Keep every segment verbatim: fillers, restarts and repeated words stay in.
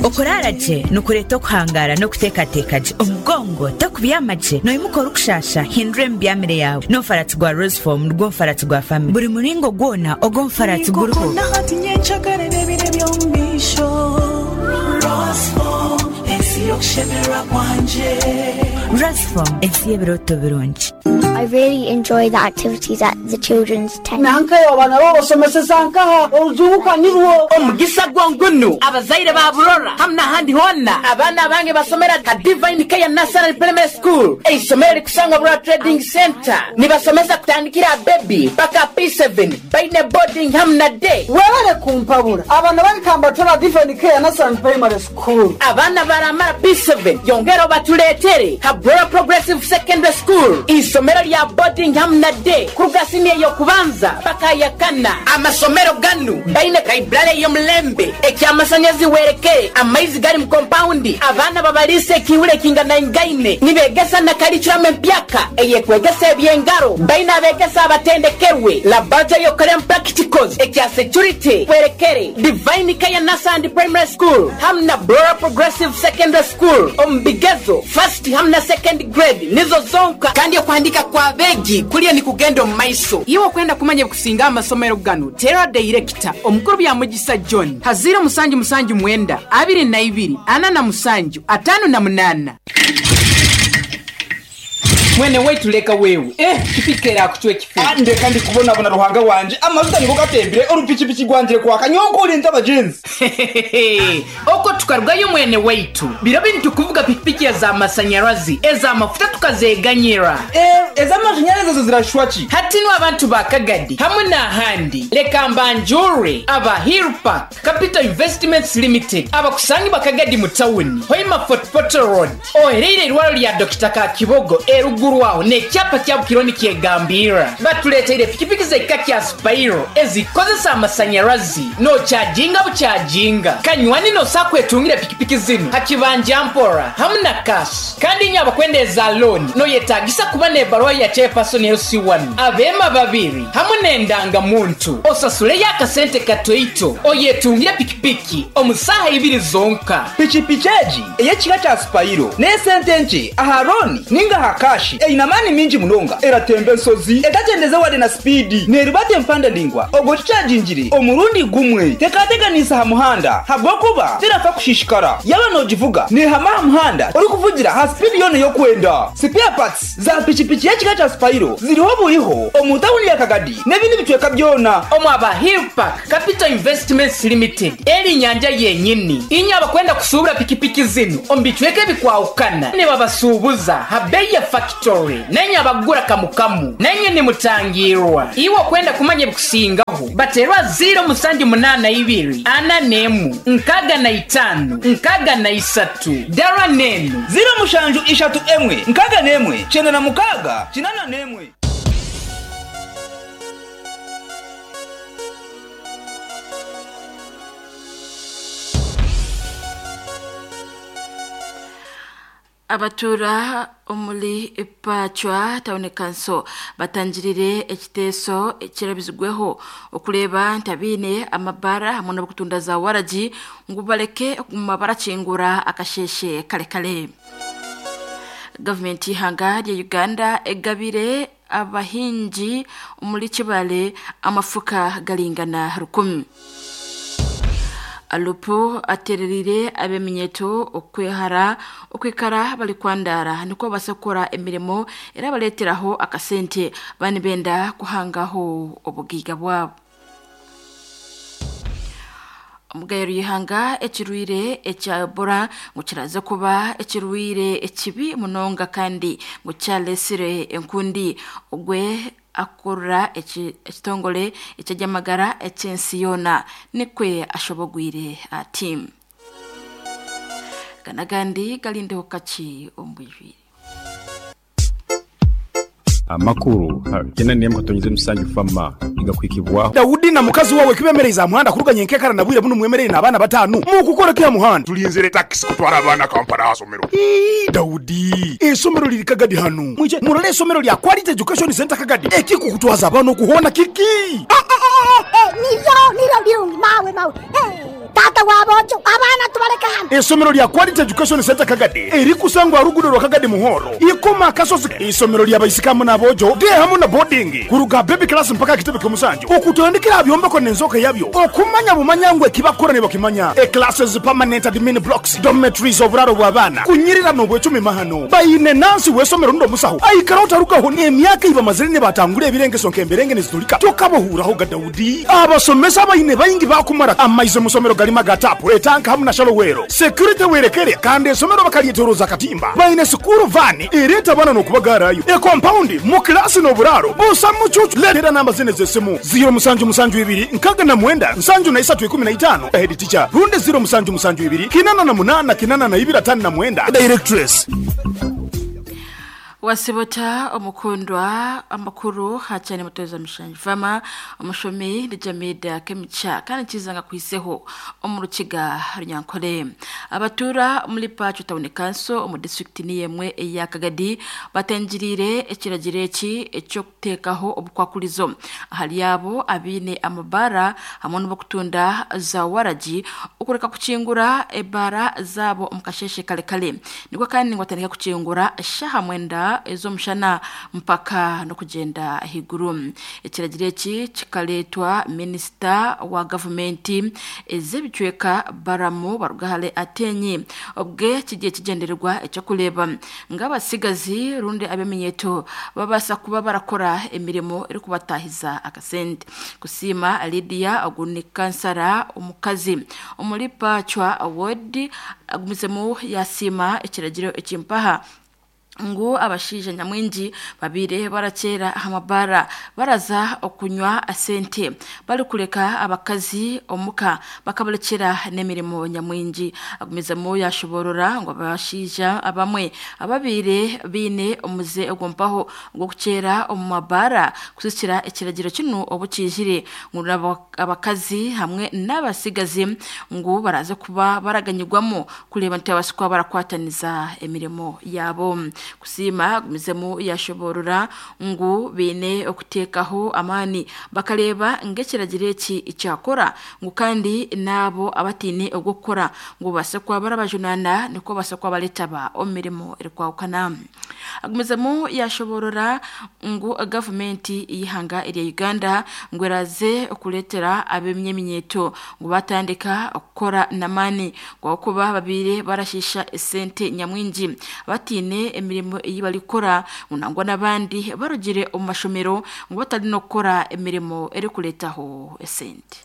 Okurara gye nikureeta okuhangara n'okuteekateeka gye omugongo tokubyama gye noimuka orikushasha hindura emibyamire yawe n'omufaratsi gwa Roseform nigwo mufaratsi gwa family buri muringo gwona ogwo omufaratsi guriho. Roseform ensi y'ebirooto birungi. I really enjoy the activities at the children's tent. Nanka abana babasomeseza nkaha oruzunguka nirwo omugisa gwongunu abazaire ba Burora hamwe n'ahandi hona abaana bange basomera ka Divine Care Nursery Primary School eisomero rikusangwa Burora Trading Center nibasomesa kutandikira baby paka P seven baine boarding hamwe na day. Webale kumpabura abana barikamba tora Divine Care Nursery Primary School abana baramara P seven yongero batuletere ka Burora Progressive Secondary School isomero lya boarding hamwe na day kuruga siniya yokubanza paka yakana amasomero ganu baine library y'omulembe ekyamasanyalazi werekere amaizi gari mu compound abaana babalise ekiwule kingana ingaine nibegesa na curriculum empyaka eyekwegesa ebyengaro baine abegesa abatendekerwe laboratory yokorem practicals ekya security werekere Divine Care Nursery Primary School hamwe na Burora Progressive Secondary School omubigezo first hamwe na second grade nizo zonka kandi okuhandika kwa begi kuliya ni kugenda omu maiso. Iwe okwenda kumanya kusinga amasomero ganu tera director omukuru bya Mugisa John haziro musanju musanju mwenda abiri na ibiri ana na musanju atano na munana. Mwene wetu leka wewe eh kipikera kuchwe kifu ande kandi kubona bona ruhanga wanje amavuta niko gatembire urupichipiki gwangire kwaka nyonko ulinda abajenzi oko tukarwayo mwene wetu biro bintu kuvuga pikipiki za masanyarazi eza mafuta tukazeganyira eh eza mashanyarazi zo zirashwachi hatino abantu bakagadi hamwe na handi leka mbanjure aba Hill Park Capital Investments Limited abakusangi bakagadi mu town Hoima Fort Portal Road oherere irwaro lya Doctor Kakibogo erugu waho nekyapa kya Bukironi kyegambira batuleteire pikipiki z'ekika kya Spiro ezikozesa amasanyarazi no kyajinga bukyajinga kanywani no sakwetungira pikipiki zino hakibanja mpora hamwe na cash kandi nyaba kwendeza loan no yetagisa kuba nebarwa ya chairperson L C one abema babiri hamwe nendanga muntu osasule yakasente katoito oyetungira pikipiki omusaha ibiri zonka pikipiki eji eyekika kya Spiro nesente nche aharoni ninga hakashi einamani minji munonga eratembe nsozi etatendeze wade na speed neribate empanda ndingwa ogo chajinjire omurundi gumwe tekateganisa ha muhanda habwokuba tirafa kushishikara yaba nojivuga ni hama muhanda uri kuvugira ha speed yone yokwenda spare parts za pichipichi yekika cha Spiro ziriho buriho omutawuni ya Kagadi nebindi bitweka byona omu aba Hill Park Capital Investments Limited eri nyanja yenyini inyaba kwenda kusubura pikipiki zino ombitweke bikwaukana ne babasubuza habeya factory nenye abagura kamukamu nenye ni mutangirwa iwo kwenda kumanya bikusingaho baterwa zero musanju munana ibiri ana nemu nkaga na itanu nkaga na isatu dara nenu zero mushanju ishatu emwe nkaga nemwe chenda na mukaga chinana nemwe. Abatura omuli Pachwa Town Council batangirire ekiteeso ekirabizigweho okuleba ntabine amabara hamwe n'okutunda za waraji ngu baleke okuguma barakingura akasheshe kale kale. Government ihanga lya Uganda egabire abahinji omuli Kibale amafuka galingana rukumi. Alupo atererire abeminyeto okwehara okwikara bali kwandara niko basakora emirimo era baleteraho akasente bani benda kuhangaho obugiga bwabo. Omugayero yihanga ekirwire ekya Ebola ngo kiraza kuba ekirwire ekibi munonga kandi ngo kyalesire enkundi ogwe akora ekitongole ekyajamagara ekyensi yona nikwe ashobogwire ati kanagandi galindeho kachi ombwijwire amakuru kena niye mkatonyize musanju fama igakwikibwaho Daudi na mukazi wawe kibemereza muhanda kuruganye nkekara nabwire buno mwemerere nabana batanu mukukora kya muhanda tulinzire taxi kutwara abana Kampala hasomero. Daudi esomero liri Kagadi hanu mwije murole esomero lya Quality Education Center Kagadi ekiko kutwaza abana okuhona kiki eh eh eh nivyo nivyo birungi mawe mawe. Tata w'aboojo, abaana tubaleke hano. Isomero lya Quality Education Center Kagadi erikusangwa rugudo rwa Kagadi Muhoro ikoma akasozi. Isomero lya baisikamu n'aboojo de hamu na boarding kuruga baby class mpaka kitebe ky'omusanju okutandikira byombeko n'enzoka yabyo okumanya bumanya ngwe kibakora ne bakimanya. E classes, permanent admin blocks, dormitories, oburaro bw'abaana kunyirira n'obwecumi mahano bayine nansi w'esomero ndo musaho aikara utarukaho n'emyaka iba mazire ne batangura ebirengeso nk'emberenge nizitulika tokabohuraho ga Daudi. Abasomesa bayine bayingi bakumara amaize musomero galima gatapu etanka hamu na shalowero security werekere kandi esomero bakalyeteroza katimba bayine sukuru vani ereta bana n'okubagarayo e compound mu klasi n'oburaro busa mucucu. Letera namba zine z'esimu zero musanju musanju ibiri nkaga na mwenda nsanju na isatu ikumi na itano head teacher runde zero musanju musanju ibiri kinana na munana kinana na ibiri atano na mwenda directress. Wasibota omukundwa amakuru hachane mutoza mishanji fama omushomi lijamida kemicha kandi kizanga kwiseho omurukiga runyankole. Abatura muri Pacho Town Council omu district niyemwe eya Kagadi batenjirire ekiragiro eki ekyo kutekaho obukwakulizo ahali abo abine amabara hamwe n'obukutunda za waraji okureka kuchingura ebara zabo omukasheshe kale kale niko kandi ngwatandika kuchingura shaha mwenda ez'omushana mpaka n'okugenda higuru. Ekiragiro eki kikaletwa minisita wa gavumenti ez'ebicweka Baramu Barugahale Atenyi obwe kigiye kigendererwa ekyokureba ng'abasigazi rundi abeminyeto babasa kuba barakora emirimo erikubatahiza akasente. Kusiima Lydia oguni kansara omukazi omuri Pachwa Award agumizemu yasiima ekiragiro ekimpaha ngu abashija nyamwingi babire barakera amabara baraza okunywa asente bali kuleka abakazi omuka bakabalekera n'emirimo nyamwingi. Agumizemo yashoborora ngo abashija abamwe ababire bine omuze ogompaho ngo kucera omu mabara kusikira ekiragiro kino obukijire ngu abakazi hamwe n'abasigazi ngu baraza kuba baraganyirwamo kureba nti abasikwa barakwataniza emirimo yabo. Kusiima agumizemu yashoborora ngu bine okutekaho amani bakareba ng'ekiragiro eki icyakora ngu kandi nabo abatine ogukora ngu base kwa barabajunana niko base kwa baletaba omirimo erikwawukana. Agumizemu yashoborora ngu gavumenti yihanga erya Uganda ngu eraze okuletera ab'emyeminyeto ngu batandika okukora namani ngo kuba babire barashisha esente nyamwingi batine emirimo iyi balikora nangwa nabandi barugire omu mashomero ngo batari no gukora emirimo erikuletaho esente.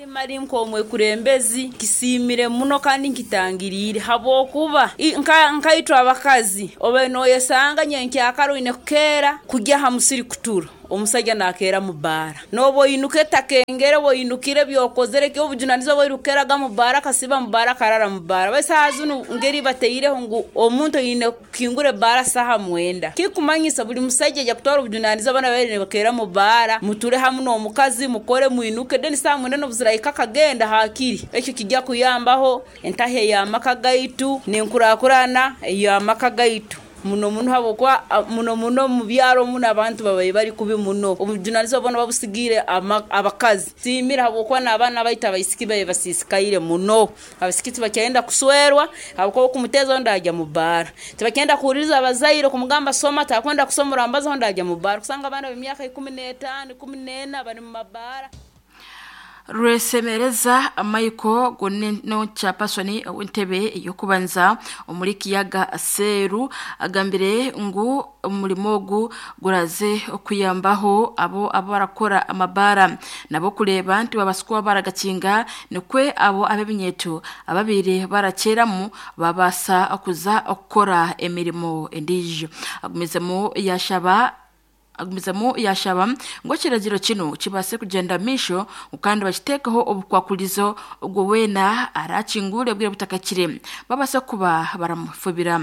Mari nkomwe kurembezi kisimire muno kandi nkitangirire habokuba nka nkaitwa abakazi obe noyesanga nyenkyakaro ine kukera kujya hamusiri kutura omusajja nakera mu bara nobo inuke takengere bo inukire byokozere kyo obujunanizo bo irukeraga mu bara kasiba mu bara karara mu bara basazunu ngeri bateireho ngu omuntu ine kingure bara saha mwenda kikumanyisa buli musajja ja kutwara obujunanizo bana bere bakera mu bara muture hamu no mukazi mukore muinuke deni saha mwenda no buziraika kagenda hakiri ekyo kijja kuyambaho entahe ya makagaitu nenkurakurana ya makagaitu muno muno habokwa muno muno mu byaro muno abantu babaye bari kubi muno obujunanizo bona babusigire abakazi simira habokwa n'abana baita abaisiki baye basisikaire muno abasiki tibakyenda kuswerwa habokwa kumutezo ndajya mu bara tibakyenda kuhuriza abazaire kumugamba soma takwenda kusomora ambazo ndajya mu bara kusanga abana b'emyaka ikumi n'etaano ikumi n'ena bari mu mabara. Rwesemereza Michael gonno chapasoni w'entebe yokubanza omuri kiyaga Seru agambire ngu umurimo ogu guraze okuyambaho abo abarakora amabara nabo kureba nti babasukwa baragakinga nikwe abo abebinyeto ababire barakeramu babasa okuza okukora emirimo endijo. Agumizemo yashaba agumizamo yashaba ngo kiragiro kino kibase kugenda misho kandi bakitekaho obukwakulizo ubwo wena arakingure bwire butakakire babase kuba baramufubira.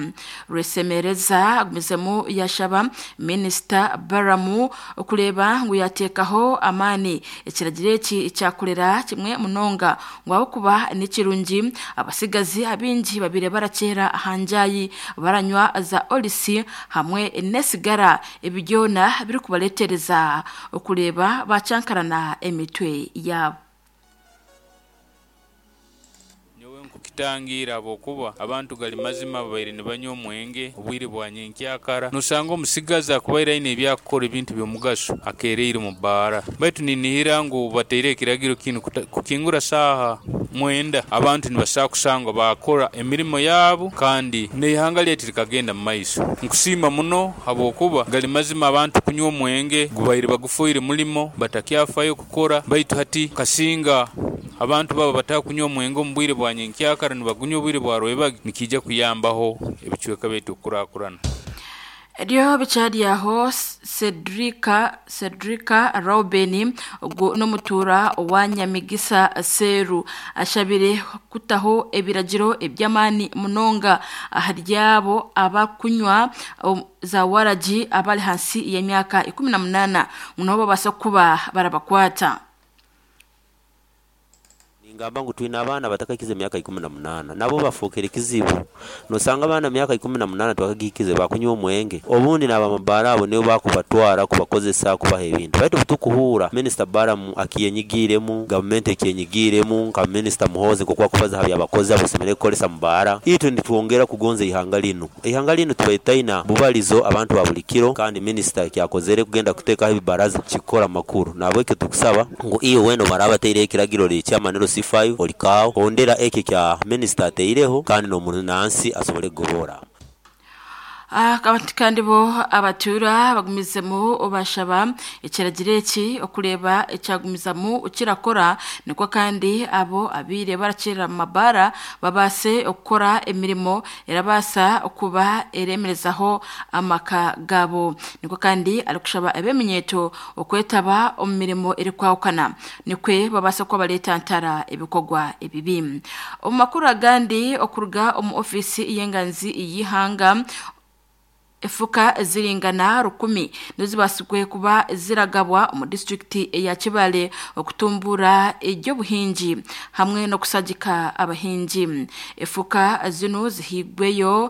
Rwesemereza agumizamo yashaba Minister Baramu okureba ngo yatekaho amani ekiragiro eki cyakorera kimwe munonga ngo abo kuba n'ikirungi abasigazi abingi babire barakera hanjayi baranywa za olisi hamwe nesigara ebigyona biri kubaletereza okureba bacyankarana emitwe yabo. Kukitangira habwokuba abantu gali mazima babaire nibanywa omwenge obwire bwa nyenkyakara, nosanga omusigazi akubaire aine ebyakukora ebintu by'omugaso akereire mu bbaara. Baitu ninihira ngu bateire ekiragiro kinu kukingura saaha mwenda, abantu nibasobola kusangwa baakora emirimo yaabu kandi n'eihanga lyaitu likagenda mu maiso. Nkusiima muno habwokuba gali mazima abantu kunywa omwenge gubaire bagufoire mulimo batakyafayo kukora, baitu hati kasinga abantu baba batakunywa omwenge omu bwire bwa nyenkyakara nibagunywa obwire bwa rwebagyo, nikiija kuyambaho ebicweka byaitu okukurakurana. Ryo bikyaryaho Cedrica Cedrica Robin ogwo n'omutuura owa Nyamigisa Seru ashabire kutaho ebiragiro eby'amaani munonga ahari abo abakunywa um, za waragi abali hansi y'emyaka ikumi na munaana ngu nabo babaasa kuba barabakwata. Ningamba ngu twine abaana batakahikize emyaka ikumi na munaana nabo bafuukire kizibu. Nosanga abaana myaka ikumi na munaana tibakagihikize bakunywa omwenge, obundi n'abamabaara abo nibo bakubatwara kubakozesa kubaha ebintu. Baitu obutukuhuura Minisita Balaam akiyenyigiiremu, gavumenti ekyenyigiiremu, nka Minisita Muhoozi nk'oku akubaza aha by'abakozi abasemeriire kukoresa mu baara, itwe nitwongera kugonza eihanga linu. Eihanga linu tubaire tutaina bubalizo abantu ba buli kiro, kandi minisita ekyakozere kugenda kuteekaho ebibaraza kikukora amakuru. Nahabwekyo tukusaba ngu iwe weena obu bataireho ekiragiro ekyamaniro C five olikaaho hondera ekyo ekya minisita ataireho kandi n'omunansi asobole kugobora. Abantu kandi bo abatuura bagumizemu bashaba ekiragiro eki okureeba ekyagumizamu kirakora, nikwo kandi abo abaire barakirira mu mabaara babaase okukora emirimo erabaasa okuba eremerezaho amaka gaabo. Nikwo kandi arikushaba eb'eminyeeto okwetaba omu mirimo erikwahukana nikwe babaasa kuba bareetantara ebikorwa ebibi. Omu makuru agandi okuruga omu ofiisi y'enganzi y'eihanga, efuka ziringana rukumi nizibasigwe kuba ziragabwa omu disitulikiti eya Kibale okutumbura eby'obuhingi hamwe n'okusagika abahingi. Efuka zinu zihigweyo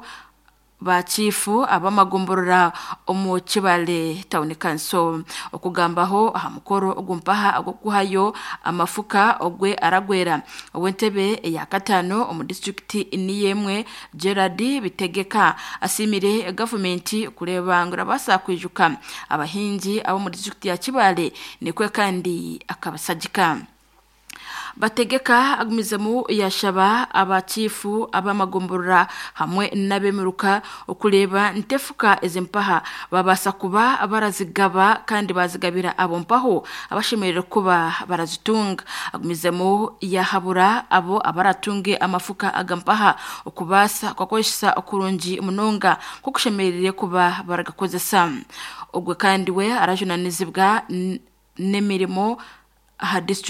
bachifu abamagomborora omu Kibale Town Council. Okugambaho aha mukoro ogumpaha agokuhayo amafuka ogwe aragwera ow'entebe eya kataano omu disitulikiti niyemwe Gerard Bitegeka asimire gavumenti kureeba ngu erabaasa kwijuka abahingi ab'omu disitulikiti ya Kibale nikwe kandi akabasagika. Bategeka agumizemu yashaba abachifu abamagomborora hamwe n'abemiruka okureeba ntefuka ezimpaha babaasa kuba barazigaba kandi bazigabira abo mpaho abashemereire kuba barazitunga. Agumizemu yahabura abo abaratunge amafuka agampaha okubaasa kukozesa okurungi munonga kukushemereire kuba baragakozesa. Ogwe kandi we arajunanizibwa n'emirimo aha disitulikiti.